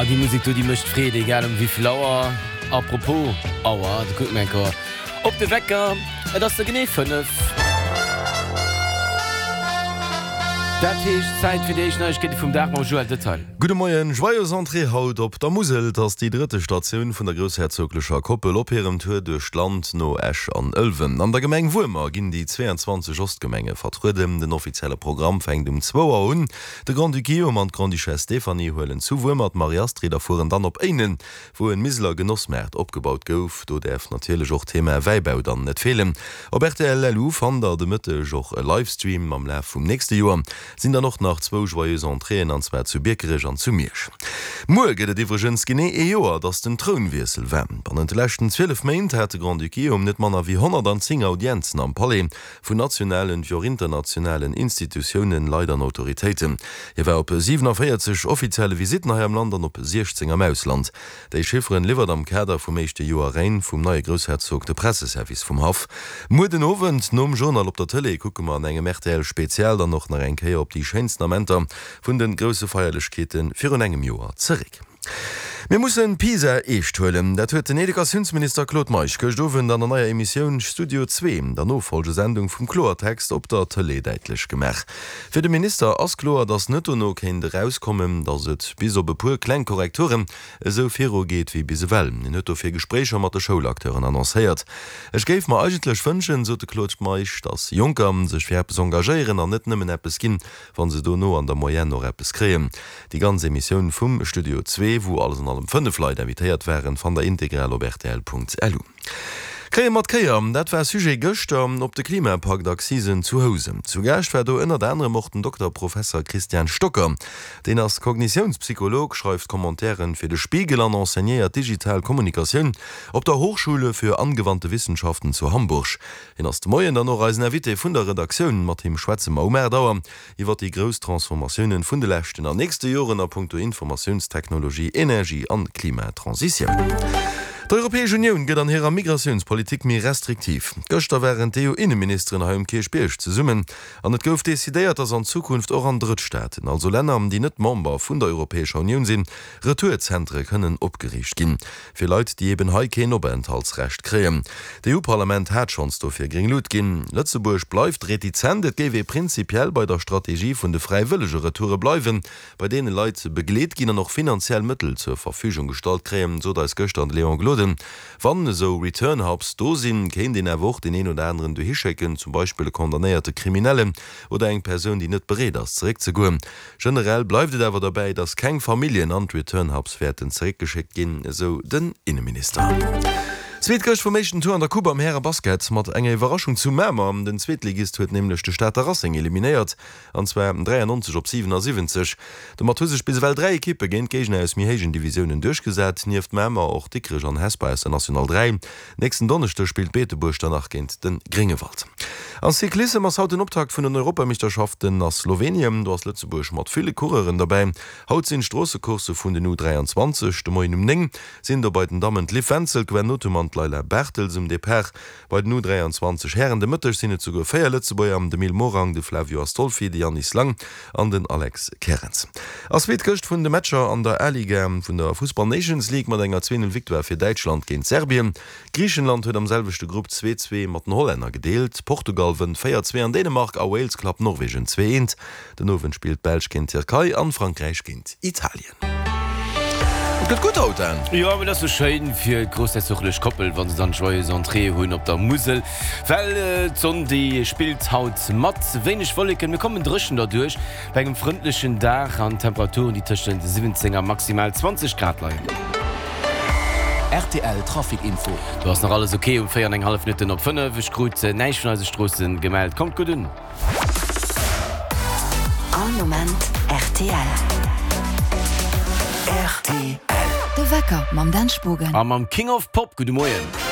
Ah, déi Musek do, déi mécht Freed, egal ëm wéivill Auer. A propos Auer, da kucke mir eng Kéier op de Wecker, et ass der genee 5. Dat heescht, Zäit fir déi éischt Neiegkeete vum Dag mam Joël Detail. Gudde Moien, Joyeuse Entrée haut op der Musel. 't ass déi drëtte Statioun vun der groussherzoglecher Koppel op hirem Tour duerch d'Land no Esch an Ëlwen. An der Gemeng Wuermer ginn déi 22 Ostgemenge vertrueden. Den offizielle Programm fänkt um zwou Auer un. De Grand-Duc Guillaume an d'Grande-Duchesse Stéphanie huelen zu Wuermer d'Marie-Astrid a fueren dann op Éinen, wou en Miseler Genossmaart opgebaut gouf. Do däerf natierlech och d'Thema Wäibau dann net feelen. Op rtl LU fannt der de Mëtteg och e Livestream. Am Laf vum nächste Joer sinn dann och nach zwou Joyeuse Entréeën, an zwar zu Biekerech an zu Miersch. Muer gëtt et iwwregens genee ee Joer, dass den Trounwiessel war. Bannent de leschten 12 Méint hat de Grand-Duc Guillaume net manner wéi 110 Audienzen am Palais. Vun nationalen wéi och internationalen Institutiounen, Leit an Autoritéiten. Hie war op 47 offizielle Visitten hei am Land an op 16 am Ausland. Déi Chifferen liwwert am Kader vum éischte Joer Règne vum neie Groussherzog de Presseservice vum Haff. Muer den Owend nom Journal op der Tëlee kucke mer an engem RTL-Spezial dann och nach eng Kéier op déi schéinsten Amenter vun de grousse Feierlechkeete virun engem Joer zeréck. Mir mussen PISA eescht huelen. Dat huet den Educatiounsminister Claude Meisch gëscht Owend an der neier Emissioun Studio Zwee, der Nofolgesendung vum Kloertext op der Tëlee däitlech gemaach. Fir de Minister ass kloer, datt net dono kéint erauskommen, datt et bis op e puer kleng Korrekturen esou viru geet wéi bis ewell. Hien huet dofir Gespréicher mat de Schoulacteuren annoncéiert. Ech géif mer eigentlech wënschen, sot de Claude Meisch, datt Jonker sech fir eppes engagéieren an net nëmmen eppes ginn, wann se dono an der Moyenne och eppes kréien. Déi ganz Emissioun vum Studio Zwee, wou alles an allem 5 Leit invitéiert waren, fannt der integral op rtl.lu. Kréie mat Kéier, dat war Sujet gëschter op de Klimapakt-Accisen zu Housen. Zu Gaascht war do ënnert anerem och den Dokter Professer Christian Stocker. Deen ass Kognitiounspsycholog, schreift Commentairen fir de Spiegel an enseignéiert digital Kommunikatioun op der Hochschule für angewandte Wissenschaften zu Hamburg. Hien ass de Moien dann och eisen Invité vun der Redaktioun. Mat him schwätze mer um 8 Auer iwwer déi grouss Transformatiounen vun de leschten an nächste Joren a punkto Informatiounstechnologie, Energie an Klimatransitioun. D'Europäesch Unioun gëtt an hirer Migratiounspolitik méi restriktiv. Gëschter waren d'EU-Inneministeren hei um Kierchbierg zesummen an et gouf decidéiert, datt an Zukunft och an Drëttstaaten, also Länner, déi net Member vun der Europäescher Unioun sinn, Retourzentere kënnen opgeriicht ginn. Fir Leit, déi eben hei keen Openthaltsrecht kréien. D'EU-Parlament hat schonns dofir gréng Lut ginn. Lëtzebuerg bleift retizent. Et géif ee prinzipiell bei der Strategie vun de fräiwëllege Retoure bleiwen, bei deene Leit begleet ginn an och finanziell Mëttel zur Verfügung gestallt kréien, sot eis gëschter de Léon Gloden. Wann esou Return Hubs do sinn, kéint een awer och deen een oder aneren dohi schécken, zum Beispill e condamnéierte Kriminellen oder eng Persoun, déi net bereet ass zeréckzegoen. Generell bleift et awer derbäi, datt keng Familljen an d'Return Hubs wäerten zeréckgeschéckt ginn, esou den Inneminister. Zweet Gëscht vum éischten Tour an der Coupe am Häre-Basket mat enger Iwwerraschung zu Mamer. Den Zweetligist huet nämlech de Stater Racing eliminéiert, an zwar 93 op 77. Domat hu sech bis ewell 3 Ekippe géint Géigner aus méi héijen Divisiounen duerchgesat, nieft Mamer och Dikrech an Hesper aus der National 3. Nächsten Donneschdeg spillt Beetebuerg dann nach géint de Gréngewald. Am Cyclissem ass haut den Optakt vun den Europameeschterschaften a Slowenien. Do ass Lëtzebuerg mat ville Coureuren derbäi. Haut sinn d'Stroossecoursse vun den U 23. De Moien um 9 sinn do bei den Dammen d'Liv Wenzel, d'Gwen Nothum an d'Leila Bartels um Depart. Bei den U 23 Hären de Mëtteg sinn et souguer 4 Lëtzebuerger, de Mil Morang, de Flavio Astolfi, de Yannis Lang an den Alex Kerens. Ass wéi d'Këscht vun de Matcher an der A-Liga vun der Fussball Nations League mat enger 2, 0 Victoire fir Däitschland géint Serbien. Griichenland huet am selwechte Grupp 2, 2 mat den Hollänner gedeelt. Portugal wënnt 4, 2 an Dänemark a Wales klappt Norwegen 2, 1. Den Owend spillt d'Belsch géint d'Tierkei an Frankräich géint Italien. Et gëtt gutt haut, Dan! Jo, mee et ass jo schéin fir d'groussherzoglech Koppel, wa se dann d'Joyeuse Entrée hunn op der Musel, well d'Sonn déi spillt haut mat. Wéineg Wolleken, mir kommen dréchen derduerch bei engem frëndlechen Dag an Temperaturen, déi tëschent 17 a maximal 20 Grad leien. Rtl Trafic Info. Do ass nach alles ok um 4 an eng hallef Minutten op 5. Ech krut näischt vun eise Stroosse gemellt. Kommt gutt un! All Moment rtl. Rtl. De Wecker mam Dan Spogen. A mam King of Pop. Gudde Moien.